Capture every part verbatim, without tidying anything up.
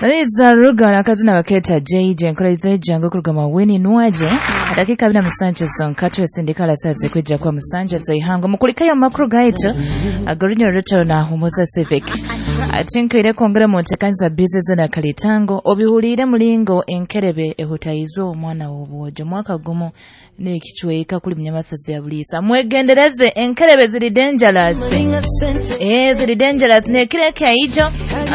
Liza Ruga akazina baketa J J enkola jangu kuruga Maweni Nwaje. Dakika abiri na musanju zonka twesindika sazi kwijja kwa musanja zeihango mukulikayo amakuru gaitu agorinya rutaro na Humuza Civic. Atinkaire kwongera mu ntekanisa bizinesi na kalitango obihuliire mulingo enkerebe ehutaizo omwana w'obwojo mwaka gumu n'ekicweka kuli munyamasazi ya buliisa. Mwegendereze, enkerebe ziri dangerous, eh ziri dangerous. Nekiro ekaijo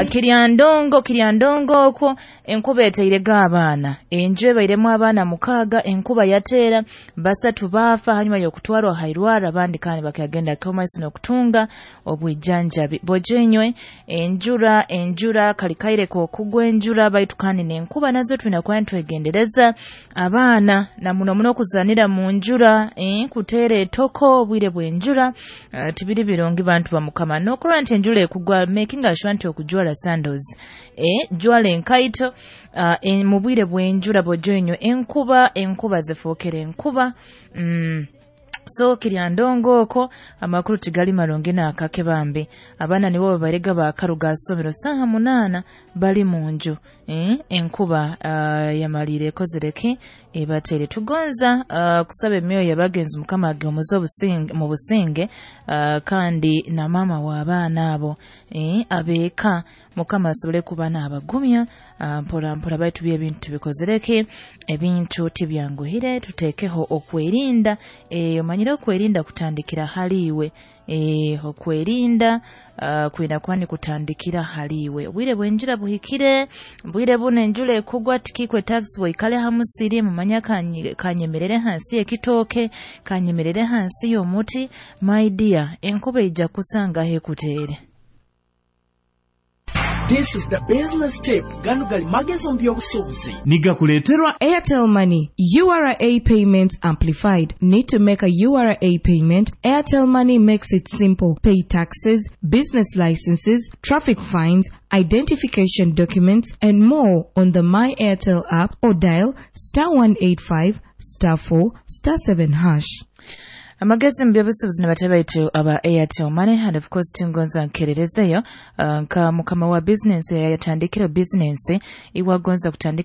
kirya ndongo, kirya ndongo okwo enkuba eteirega abaana, enju ebairemu abaana mukaaga, enkuba yateera basatu baafa hanyuma y'okutwarwa hairwara, abandi kandi bakagenda komaiso n'okutunga obwijanjabi. Bojenywe enjura enjura kalikaire kokugwa enjura, baitu kandi n'enkuba nazo tulina kuba nitwegendereza abaana na muno muno okuzanira mu njura, eh, kuteera etoko obwire bw'enjura, uh, tibiri birungi bantu ba Mukama. N'okulwa nti enjura ekugwa, making sure nti okujwala sandals, eh, jwala enkaito uh, en, mu bwire bw'enjura. Bojoinywe enkuba enkuba zifuukire enkuba mm. So kirya ndongo okwo amakuru tigali marungi n'akake bambi. Abaana nibo babarega bakaruga somero saaha munaana bali mu nju, eh, enkuba uh, yamalire ekozereki ebatere. Tugonza uh, kusaba emyoyo y'abagenzi Mukama agimuze obusinge mu businge, uh, kandi na maama w'abaana abo, eh, abeeka Mukama asobole kuba n'abagumya uh, mpora mpora. Baitu by'ebintu tubikozereki, ebintu tibyanguhire, tuteekeho okwerinda. eh, omanyire okwerinda kutandikira haliiwe, eh, okwerinda uh, kwina kuba nikutandikira haliiwe. Obwire bw'enjura buhikire, bwire buno enjura ekugwa tikikwe taxi bwaikale ha musiri mumanya kanyemerere hansi y'ekitooke, kanyemerere hansi y'omuti. My dear, enkuba ejja kusangaho ekuteere. This is the business tip. Gano gali magezi mu by'obusuubuzi. Nigakuleeterwa Airtel Money U R A Payments Amplified. Need to make a U R A payment? Airtel Money makes it simple. Pay taxes, business licenses, traffic fines, identification documents, and more on the My Airtel app or dial star one eight five star four star seven hash. Amagezi mu by'obusuubuzi ne aba Airtel Money. And of course tingonza nkererezeyo uh, nka mukama wa business yatandikira business iwagonza kutandika.